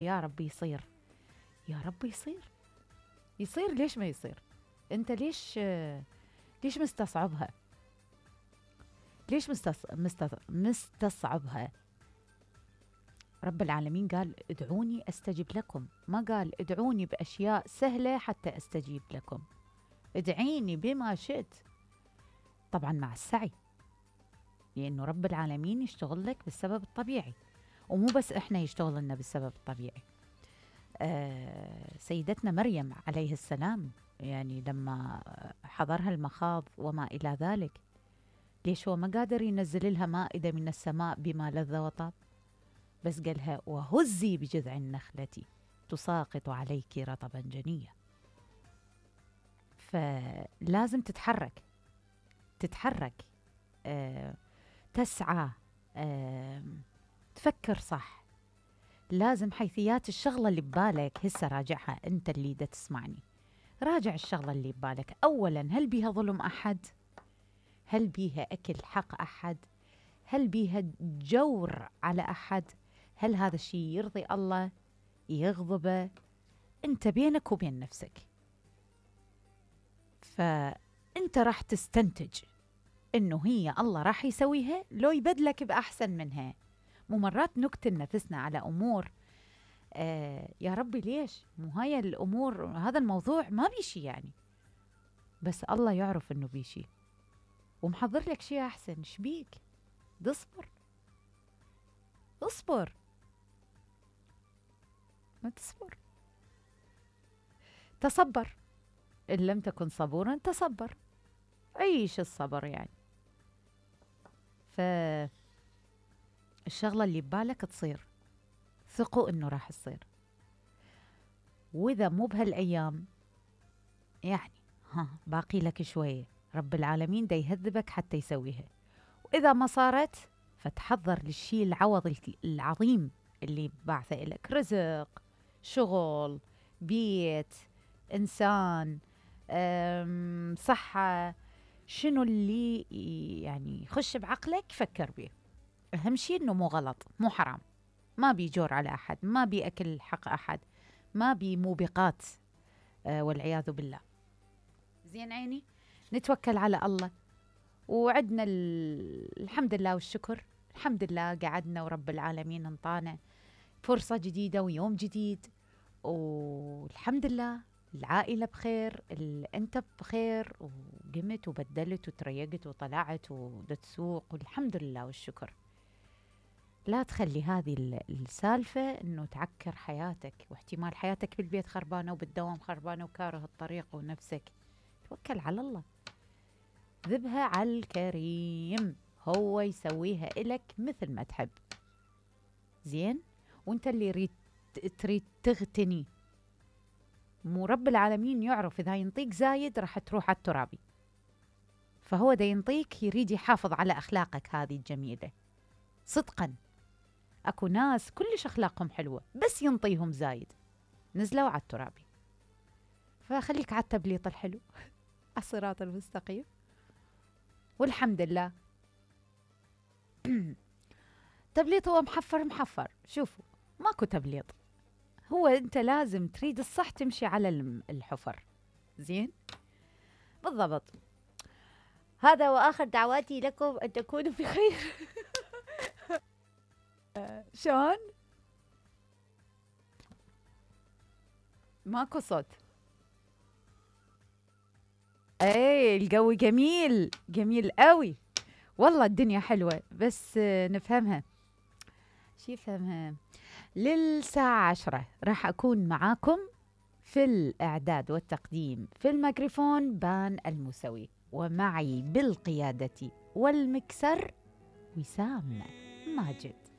يا رب يصير، يا رب يصير. يصير ليش ما يصير؟ انت ليش مستصعبها؟ ليش مستصعبها؟ رب العالمين قال ادعوني استجب لكم، ما قال ادعوني باشياء سهله حتى استجيب لكم. ادعيني بما شئت، طبعا مع السعي، لانه رب العالمين يشتغل لك بالسبب الطبيعي، ومو بس احنا يشتغل لنا بالسبب الطبيعي. سيدتنا مريم عليه السلام، يعني لما حضرها المخاض وما إلى ذلك، ليش هو ما قادر ينزل لها مائدة من السماء بما لذ وطاب؟ بس قالها وهزي بجذع النخلة تساقط عليك رطبا جنيا. فلازم تتحرك، تسعى، تفكر صح. لازم حيثيات الشغلة اللي ببالك هسه راجعها، انت اللي دا تسمعني، راجع الشغلة اللي ببالك. اولا، هل بيها ظلم احد؟ هل بيها اكل حق احد؟ هل بيها جور على احد؟ هل هذا الشيء يرضي الله؟ يغضبه؟ انت بينك وبين نفسك، فانت راح تستنتج انه هي الله راح يسويها لو يبدلك باحسن منها. مو مرات نقتل نفسنا على امور يا ربي ليش؟ مو هاي الامور، هذا الموضوع ما بيشي يعني، بس الله يعرف انه بيشي ومحضر لك شيء احسن. شبيك؟ اصبر، ما تصبر، تصبر. ان لم تكن صبورا تصبر، عيش الصبر يعني. فالشغلة اللي ببالك تصير، ثقوا انه راح تصير. واذا مو بهالايام يعني باقي لك شوية، رب العالمين دا يهذبك حتى يسويها. واذا ما صارت فتحضر للشيء العوض العظيم اللي بعثه لك: رزق، شغل، بيت، انسان، صحة. شنو اللي يعني يخش بعقلك فكر به. اهم شيء انه مو غلط، مو حرام، ما بيجور على احد، ما بيأكل حق احد، ما بموبقات والعياذ بالله. زين عيني، نتوكل على الله. وعدنا الحمد لله والشكر، الحمد لله قعدنا ورب العالمين انطانا فرصة جديدة ويوم جديد، والحمد لله العائلة بخير، انت بخير، وقمت وبدلت وتريقت وطلعت وتسوق، والحمد لله والشكر. لا تخلي هذه السالفة انه تعكر حياتك، واحتمال حياتك بالبيت خربانة وبالدوام خربانة وكاره الطريق ونفسك. توكل على الله، ذبها على الكريم، هو يسويها إلك مثل ما تحب. زين؟ وانت اللي تريد تغتني، مو رب العالمين يعرف إذا ينطيك زايد راح تروح على الترابي، فهو دا ينطيك يريد يحافظ على أخلاقك هذه الجميلة. صدقا أكو ناس كلش أخلاقهم حلوة بس ينطيهم زايد، نزلوا على الترابي. فخليك على التبليط الحلو على الصراط المستقيم، والحمد لله. تبليط هو محفر. شوفوا، ماكو تبليط، هو انت لازم تريد الصح تمشي على الحفر. زين؟ بالضبط. هذا واخر دعواتي لكم ان تكونوا بخير. شلون؟ ماكو صوت. اي الجو جميل، جميل قوي والله، الدنيا حلوة بس نفهمها. شي فهمها؟ للساعة 10 راح أكون معاكم في الإعداد والتقديم، في الميكروفون بان الموسوي، ومعي بالقيادة والمكسر وسام ماجد.